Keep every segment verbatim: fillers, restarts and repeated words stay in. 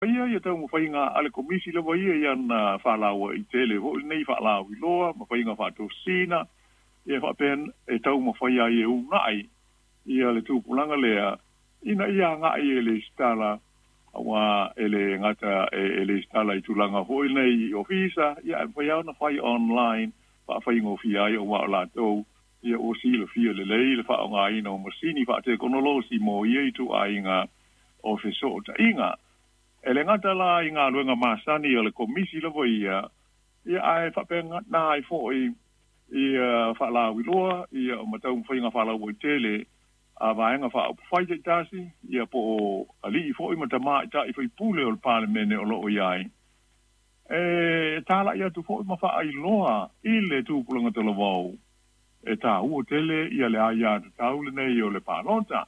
Ia ia taumafaiga a le Komisi lava ia i ana faalauaitele foʻi lenei faalauiloa ma faiga faatosina ia faapea e taumafai ai e unaʻi ia le tupulaga lea ina ia agaʻi e lesitala auā e lē gata e lesitala i tulaga foʻi lenei i ofisa ia ae mafai lava ona fai online faafaigofie ai auā o latou ia ua silafia lelei le faaaogāina o masini faatekonolosi mo ia ituaiga o fesootaiga. E lē gata la i galuega masani o le Komisi lava ia ia ae faapena ai foʻi ia faalauiloa ia o mataumafaiga faalauaitele a vaega faaupufai taitasi ia po o alii foʻi ma tamaʻitaʻi faipule o le Palemene o loo i ai e talaʻi atu foʻi ma faailoa i le tupulaga talavou e tāua tele ia le aiā tatau lenei o le palota.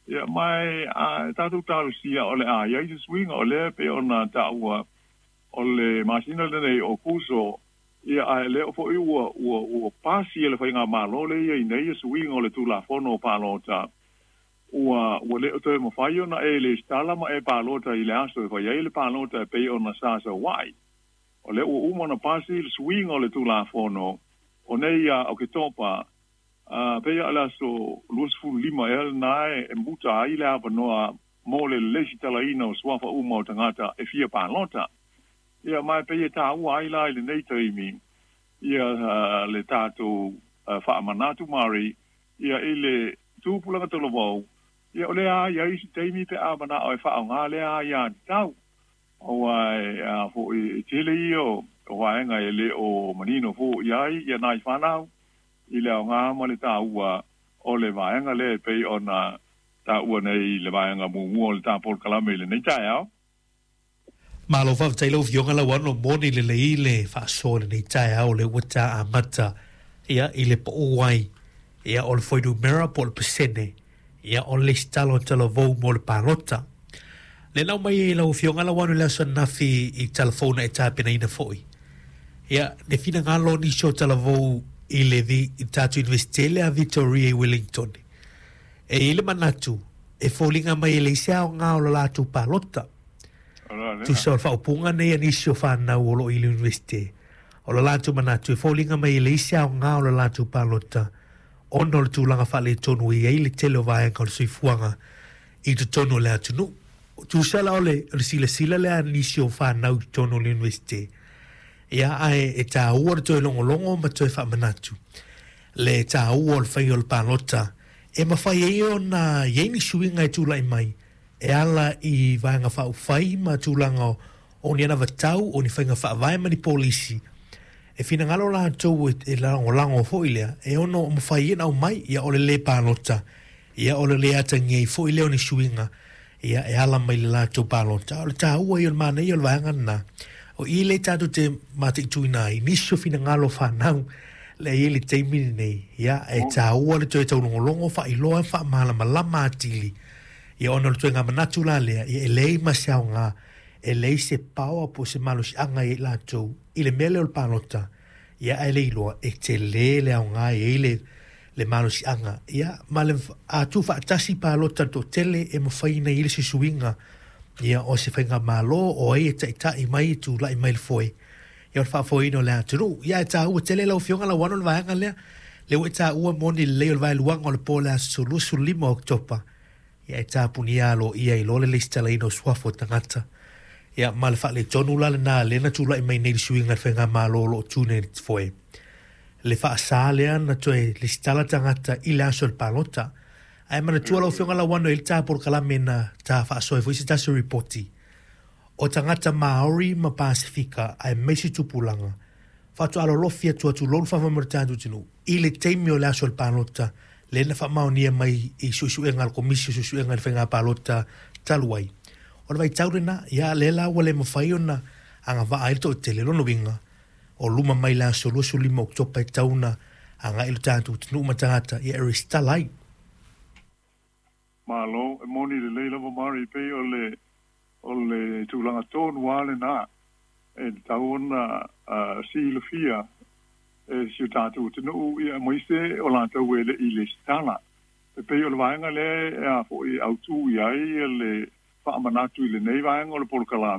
Ia mai a tatou talosia o le a iai se suiga o lea pei ona taua o le masina lenei o Kuso ia ae lea foʻi ua ua ua pasi e le faigamālō le ia ina ia suiga o le Tulafono o Palota ua ua le o toe mafai ona e lesitala ma e palota i le aso e fai ai le palota e pei ona sa sauaʻi. O lea ua uma ona pasi le suiga o le Tulafono o nei ia Oketopa a pei o le aso luasefululima ea lenā e muta ai le avanoa mo le lesitalaina o suafa uma o tagata e fia palota. Ia ma e pei e tāua ai la i lenei taimi ia le tatou faamanatu mari ia i le tupulaga talavou ia o lea iai se taimi pe a manao e faaaogā lea aiā tatau auā e a foʻi e tele ia o vaega e lē o manino foʻi ai ia nai fanau i le aogā ma le tāua o le vaega lea e pei ona taua nei le vaega muamua o le tā polokalame i lenei taeao. Malo faafetai lau Afioga Lauano moni lelei le faasoa i lenei taeao lea ua ta amata ia i le pau ai ia o le fuainumera po o le pasene ia o le lesitala o talavou mo le palota. Le nau mai e lau Afioga Lauano i le aso ananafi i talafouna e tapenaina foʻi ia le finagalo o nisi o talavou i le vi, i tatou Iunivesite lea Victoria i Wellington. E i ai le manatu e foliga mai e leai se aoga o le latou palota. Tusa o le faaupuga nei a nisi o fanau o loo i le Iunivesite. O le latou manatu e foliga mai e leai se aoga o le latou palota ona o le tulaga faaletonu e i ai le tele o vaega o le soifuaga i totonu o le atunuu. Tusa la o le, o le silasila lea a nisi o fanau i totonu o le Iunivesite. Ia ae e tāua le toe logologo ma toe faamanatu le tāua o le faiga o le palota e mafai ai ona i ai ni suiga e tulaʻi mai e ala i vaega faaupufai ma tulaga o ni anavatau o ni faiga faavae ma ni polisi e finagalo latou e lagolago foʻi lea e ono mafai ai ona aumai ia o le lē palota ia o le lē atagia ai foʻi lea o ni suiga ia e ala mai le latou palota. O le tāua ia o le manaia o le vaega lenā o i lea tatou te mataituina ai nisi o finagalo o fanau lea i ai le taimi lenei ia e tāua le toe taulogologo faailoa faamalamalama atili ia ona o le toega manatu la lea ia e leai ma se aoga e leai se power po o se malosiaga ia i latou i le mea lea o le palota ia ae le iloa e telē le aoga e i ai le le malosiaga ia ma le a tuufaatasi palota le toatele e mafai ona i ai le suisuiga ia o se faigamālō o ai e taʻitaʻi mai e tulaʻi mai le foe ia o le faafoeina o le atunuu. Ia e tāua tele lau Afioga Lauano le vaega lea lea ua e taua moni lelei o le vaeluaga o le po o le aso luasefululima o Oketopa ia e tapunia aloaia ai loa le lesitalaina o suafa o tagata ia ma le faaletonu la lenā lea na tulaʻi mai nei le suiga i le faigamālō o loo tu nei le foe le faasā lea na toe lesitala tagata i le aso o le palota. Ae manatua lau Afioga Lauano e i ai le tā polokalame na tā faasoa ai foi se tasi o ripoti o tagata Māori ma Pasefika aemaise tupulaga faatoa alolofi atu tulou le faamoemoe o le tatou atunuu i le taimi o le aso o le palota lea na faamaonia mai i suesuega a le Komisi o Suesuega i le Faiga Palota talu ai. O le vaitau lenā, ia lea la ua le mafai ona agavaa ai le toatele. Lona uiga, o luma mai le aso luasefululima o Oketopa e tatau ona agai lo tatou atunuu ma tagata ia e resitala ai. Malo, e moni lelei lava Mari, pei o le o le tulaga tonu lava lenā e tatau ona silafia e si o tatou atunuu ia aemaise o latou e leʻi lesitala. E pei o le vaega lea e a foʻi autū i ai le faamanatu i lenei vaega o le polokalame.